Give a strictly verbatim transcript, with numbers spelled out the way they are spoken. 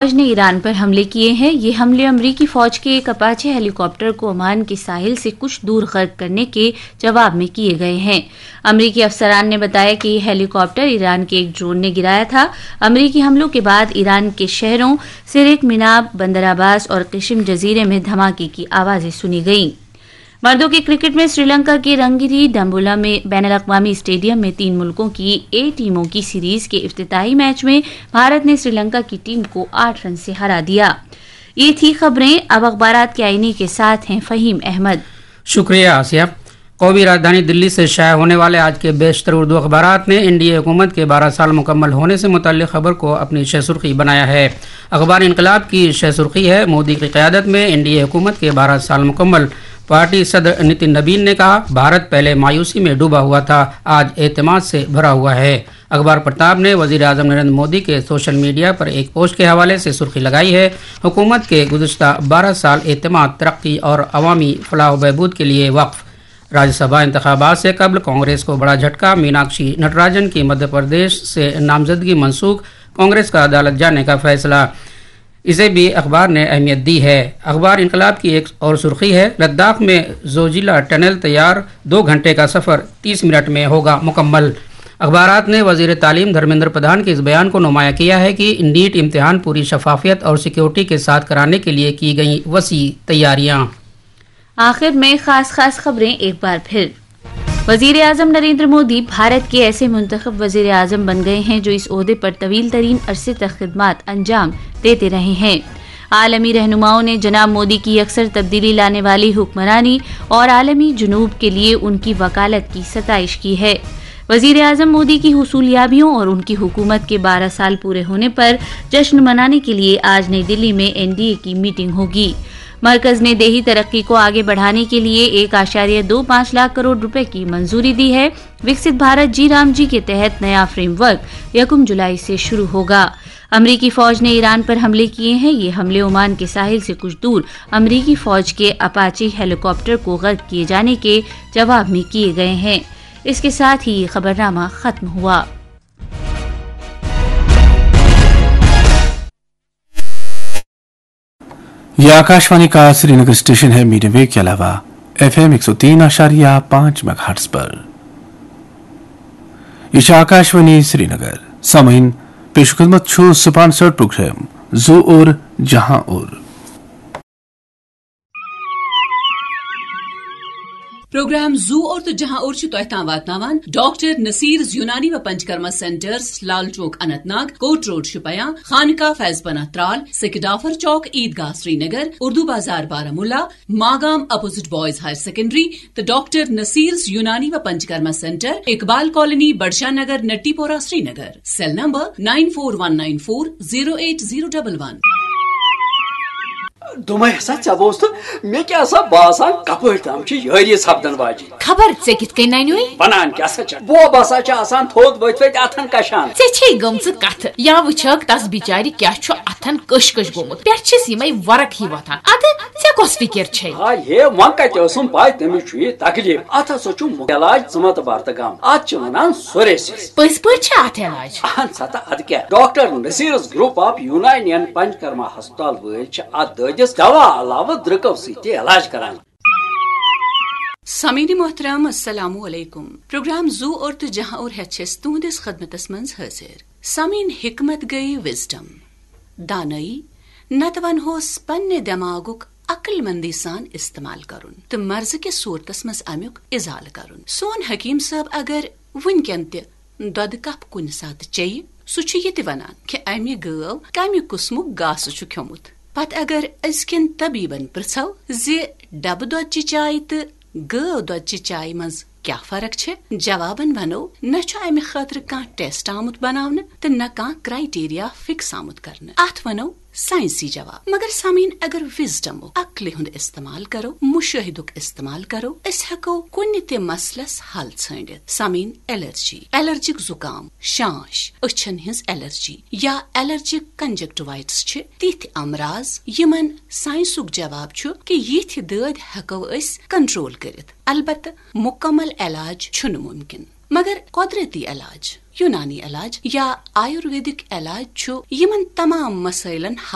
فوج نے ایران پر حملے کیے ہیں۔ یہ حملے امریکی فوج کے ایک اپاچے ہیلی کاپٹر کو عمان کے ساحل سے کچھ دور غرق کرنے کے جواب میں کیے گئے ہیں۔ امریکی افسران نے بتایا کہ یہ ہیلی کاپٹر ایران کے ایک ڈرون نے گرایا تھا۔ امریکی حملوں کے بعد ایران کے شہروں سرک، مناب، بندر عباس اور قشم جزیرے میں دھماکے کی آوازیں سنی گئیں۔ مردوں کے کرکٹ میں سری لنکا کے رنگیری ڈمبولا میں بین الاقوامی اسٹیڈیم میں تین ملکوں کی اے ٹیموں کی سیریز کے افتتاحی میچ میں بھارت نے سری لنکا کی ٹیم کو آٹھ رن سے ہرا دیا۔ یہ تھی خبریں۔ اب اخبارات کے آئینے کے ساتھ ہیں فہیم احمد۔ شکریہ آسیہ۔ قومی راجدھانی دلی سے شائع ہونے والے آج کے بیشتر اردو اخبارات نے این ڈی اے حکومت کے بارہ سال مکمل ہونے سے متعلق خبر کو اپنی شہ سرخی بنایا ہے۔ اخبار انقلاب کی شہ سرخی ہے، مودی کی قیادت میں این ڈی اے حکومت کے بارہ سال مکمل۔ پارٹی صدر نتن نبین نے کہا، بھارت پہلے مایوسی میں ڈوبا ہوا تھا، آج اعتماد سے بھرا ہوا ہے۔ اخبار پرتاب نے وزیر اعظم نریندر مودی کے سوشل میڈیا پر ایک پوسٹ کے حوالے سے سرخی لگائی ہے، حکومت کے گزشتہ بارہ سال اعتماد، ترقی اور عوامی فلاح و بہبود کے لیے وقف۔ راجیہ سبھا انتخابات سے قبل کانگریس کو بڑا جھٹکا، میناکشی نٹراجن کی مدھیہ پردیش سے نامزدگی منسوخ، کانگریس کا عدالت جانے کا فیصلہ، اسے بھی اخبار نے اہمیت دی ہے۔ اخبار انقلاب کی ایک اور سرخی ہے، لداخ میں زوجیلا ٹنل تیار، دو گھنٹے کا سفر تیس منٹ میں ہوگا مکمل۔ اخبارات نے وزیر تعلیم دھرمیندر پردھان کے اس بیان کو نمایاں کیا ہے کہ نیٹ امتحان پوری شفافیت اور سیکیورٹی کے ساتھ کرانے کے لیے کی گئیں وسیع تیاریاں۔ آخر میں خاص خاص خبریں ایک بار پھر۔ وزیر اعظم نریندر مودی بھارت کے ایسے منتخب وزیر اعظم بن گئے ہیں جو اس عہدے پر طویل ترین عرصے تک خدمات انجام دیتے رہے ہیں۔ عالمی رہنماؤں نے جناب مودی کی اکثر تبدیلی لانے والی حکمرانی اور عالمی جنوب کے لیے ان کی وکالت کی ستائش کی ہے۔ وزیر اعظم مودی کی حصولیابیوں اور ان کی حکومت کے بارہ سال پورے ہونے پر جشن منانے کے لیے آج نئی دلی میں این ڈی اے کی میٹنگ ہوگی۔ مرکز نے دیہی ترقی کو آگے بڑھانے کے لیے ایک اعشاریہ دو پانچ لاکھ کروڑ روپے کی منظوری دی ہے۔ وکست بھارت جی رام جی کے تحت نیا فریم ورک یکم جولائی سے شروع ہوگا۔ امریکی فوج نے ایران پر حملے کیے ہیں۔ یہ حملے عمان کے ساحل سے کچھ دور امریکی فوج کے اپاچی ہیلی کاپٹر کو غرق کیے جانے کے جواب میں کیے گئے ہیں۔ اس کے ساتھ ہی یہ خبرنامہ ختم ہوا۔ یہ آکاشوانی کا سری نگر اسٹیشن ہے، میڈیم ویو کے علاوہ ایف ایم ایک سو تین اشاریہ پانچ میگا ہرٹز پر۔ یہ چھا آکاشوانی سری نگر۔ سامعین، پیش خدمت چھو سپانسر پروگرام زو اور جہاں اور۔ پروگرام زو اور تو جہاں اور چھُ تۄہہِ تام واتناوان ڈاکٹر نصیرز یونانی و Panchakarma centres, Lal Chowk Anantnag, Kot road Shopian, Khanqah Faiz Panah Tral, Sekidafar Chowk, Eidgah Srinagar, Urdu Bazar Baramulla, Magam opposite boys higher secondary, تو ڈاکٹر نصیرز یونانی و Panchakarma centre, Iqbal colony, Budshah Nagar, Natipora, Srinagar. Cell number nine four one nine four zero eight zero double one. دوٚپمَے ہسا ژےٚ بوز تہٕ مےٚ کیٛاہ سا باسان کپٲرۍ تام چھِ یٲری سپدن واجِنۍ۔ خبر ژےٚ کِتھ کٔنۍ ننیوے؟ ونان کیٛاہ سا چھَکھ؟ بوب ہسا چھِ آسان تھوٚد ؤتھۍ ؤتھۍ اتھن کشان۔ ژےٚ چھے گٔمژٕ کتھٕ۔ یا وٕچھکھ تس بچارِ کیٛاہ چھُ اتھن کٔش کٔش گوٚمُت۔ پٮ۪ٹھٕ چھِس یِمے ورق ہی وۄتھان۔ ادٕ ژےٚ کۄس فکر چھے؟ ہاے ہے، وۄنۍ کتہِ ٲسٕم پاے تٔمِس چھُ یہِ تکلیف؟ اتھ ہسا چھُ مُ-، علاج ژٕ مہ تہٕ بر تہٕ غم۔ اتھ چھِ ونان سوریسس۔ پٔزۍ پٲٹھۍ چھا اتھ علاج؟ اہن سا تہٕ ادٕ کیٛاہ؟ ڈاکٹر نصیرس گروپ آف یونانین پنچکرما ہسپتال وٲلۍ چھِ اتھ دٲدِس دوا علاوٕ درٛکو سۭتۍ تہِ علاج کران۔ سامعین محترم، السلام علیکم۔ پروگرام زو اور تو جہاں اور ہیتھ چھس تہندس خدمتس منز حاضر۔ سامعین، حکمت گئی وزڈم، دانائی، نتہٕ ونہوس پننہِ دماغُک عقل مندی سان استعمال کرُن تہٕ مرضہٕ کِس صورتس منز امیُک ازالہٕ کرُن۔ سون حکیم صٲب اگر وُنکٮ۪ن تہِ دۄدٕ کپ کُنہِ ساتہٕ چیٚیہِ، سُہ چھُ یہِ تہِ ونان کہِ امہِ گٲو کمہِ قٕسمُک گاسہٕ چھُ کھیوٚمُت۔ پتہٕ اگر أزکٮ۪ن طبیبن پرژھو زِ ڈبہٕ دۄدچہِ چایہِ تہٕ گٲو دۄدچہِ چایہِ منٛز کیٛاہ فرق چھےٚ، جوابن ونو، نہ چھُ امہِ خٲطرٕ کانٛہہ ٹیسٹ آمُت بناونہٕ تہٕ نہ کانٛہہ کرائٹیریا فکس آمُت کرنہٕ۔ اتھ ونو سائنسی جواب۔ مگر سامعین، اگر وزڈمُک، عقلہِ ہُنٛد استعمال کرو، مشاہدُک استعمال کرو، أسۍ ہٮ۪کو کُنہِ تہِ مسلس حل ژھٲنڈِتھ۔ سامعین، الرجی، الرجک زکام، شانش، أچھن ہٕنٛز الرجی یا الرجک کنجکٹوائٹس چھِ تِتھۍ امراض یِمن سائنسُک جواب چھُ کہِ یِتھۍ دٲدۍ ہٮ۪کو أسۍ کنٹرول کٔرِتھ۔ البتہ مکمل علاج چھُنہٕ ممکن، مگر قدرتی علاج، یونانی علاج یا آیورویدک علاج چھُ یِمن تمام مسائلن